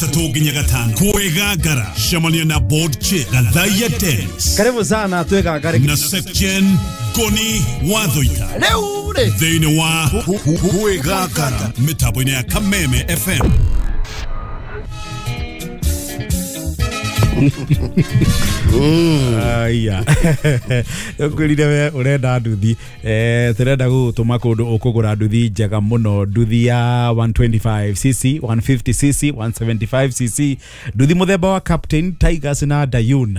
Gatatũ nginya gatano kwĩgangara cemania na board chair Gathaia Dennis Karibu sana twĩgangare na Sekjen Ngoni Wathoita rĩu rĩ thĩinĩ wa kwĩgangara mĩtambo-inĩ ya Kameme FM. Aya, ngwĩrire we ũrenda nduthi, tũrenda gũgũtũma kũndũ ũkũgũra nduthi njega mũno, nduthi ya 125 cc, 150 cc, 175 cc, nduthi mũthemba wa Captain, Tigers na Dayun.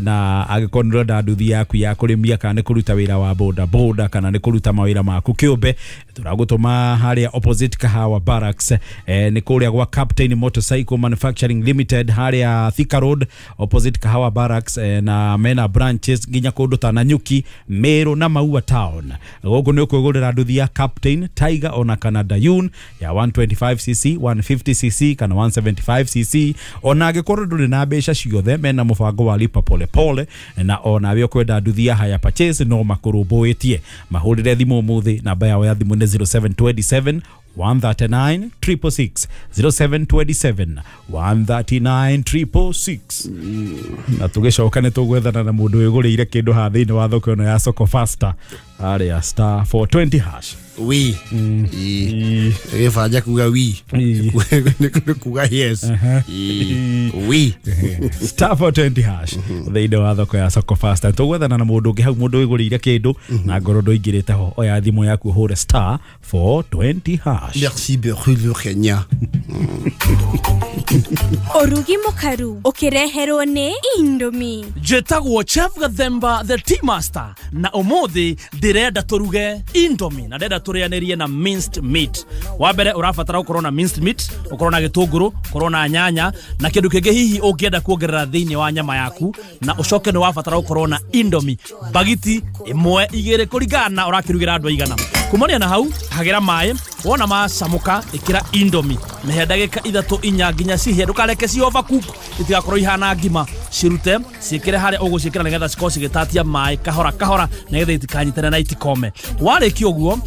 Na angĩkorwo nĩ ũrenda nduthi yaku ya kũrĩmia kana nĩ kũruta wĩra wa boda boda kana nĩ kũruta mawĩra maku kĩũmbe, tũragũtũma harĩa opposite Kahawa Barracks, nĩ kũrĩa gwa Captain Motorcycle Manufacturing Limited, harĩa Thika Road opposite Kahawa Barracks, na mena branches nginya kũndũ ta Nanyuki, Meru na Maua Town. Gũkũ nĩ ũkwĩgũrĩra nduthi ya Captain, Tiger ona kana Dayun ya 125 cc, 150 cc kana 175 cc. Ona angĩkorwo ndũrĩ na mbeca ciothe, mena mũbango wa lipa pole pole, na onawe ũkwenda nduthi ya hire purchase no makũrũmbũĩtie. Mahũrĩre thimũ ũmũthĩ, namba yao ya thimũ nĩ 0727 139 666, 0727 139 666. Na tũgĩcoka nĩ tũgwethana na mũndũ wĩgũrĩire kĩndũ haha thĩinĩ wa thoko ĩno ya Soko Fasta harĩa *420#. Wi gĩbanja kuga wi nĩ kuga yes. Ĩ, wi *420# thĩinĩ wa thoko ya Soko Fasta, tũgwethana na mũndũ ũngĩ hau, mũndũ wĩgũrĩire kĩndũ na ngoro ndũingĩrĩte ho. Oya thimũ yaku ũhũre *420#. Merci beaucoup, Kenya. Ũrugi mũkaru ũkĩreherwo nĩ Indomie. Njĩtagwo Chef Gathemba the Tea Master, na ũmũthĩ ndĩrenda tũruge Indomie na ndĩrenda tũrĩanĩrie na minced meat. Wa mbere ũrabatara gũkorwo na minced meat, ũkorwo na gĩtũngũrũ, ũkorwo na nyanya na kĩndũ kĩngĩ hihi ũngĩenda kuongerera thĩinĩ wa nyama yaku, na ũcoke nĩ wabatara gũkorwo na Indomie bagiti ĩmwe, igĩrĩ, kũringana na ũrakĩrugĩra andũ aigana. Kumania na hau, hagĩra maĩ, wona macamũka ĩkĩra Indomie, mĩhe ndagĩka 3, 4 nginya cihĩe. Ndũkareke ci overcook, itigakorwo ihana ngima. Cirute, ciĩkĩre harĩa ũgũciĩkĩra nĩgetha cikorwo cigĩtatia maĩ kahora kahora, nĩgetha itikanyitane na itikome. Warĩkia ũguo